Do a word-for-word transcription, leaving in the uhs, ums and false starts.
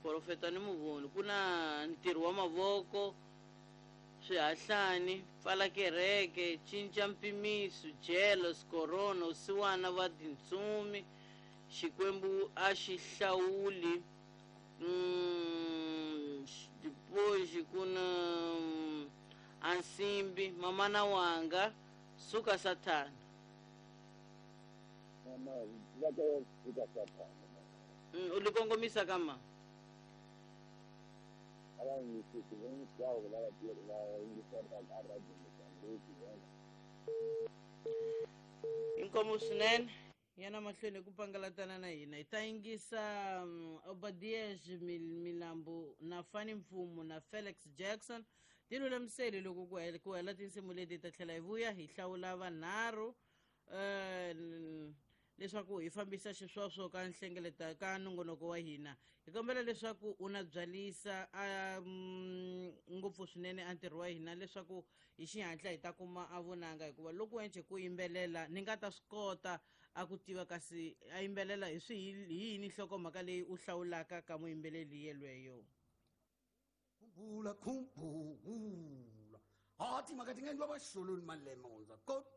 Profeta ni muvoni ku na ntirho wa mavoko, swihahlani, pfala kereke, cinca mpimiso, jealous, corona, vusiwana va tintsumi, Xikwembu a xi hlawuli, mm, dipoxi ku na mm, ansimbi, mamana wanga, suka sathana. Mama va ka suka sathana. Mm, u li kongomisa ka ma? A va yingisisi hinkwavo lava va yingiselaka a Radio Mozambique vona. Inkomu swinene yana mahlweni ku pangalatana na hina. Hi ta yingisa um, Obadias Mil- Milambo na Fani Mfumo na Felix Jackson. Ti lulamiseli loko ku hela ku hela tinsimu leti ta tlhela hi vuya hi hlawula vanharhu um leswaku hi fambisa xiswoswo ka nhlengeleta ka nongonoko wa hina. Hi kombela leswaku u na byalisa um, ngopfu swinene a ntirho wa hina leswaku hi xihatla hi ta kuma a vunanga, hikuva loko ence ku yimbelela ni nga ta swi kota a ku tiva kasi a yimbelela hi swi hi yini nhlokomhaka leyi u hlawulaka ka muyimbeleli yelweyo. Khumbula, khumbula, ha timhaka ti nga endliwa vaxolweni malembe hundza kodwa.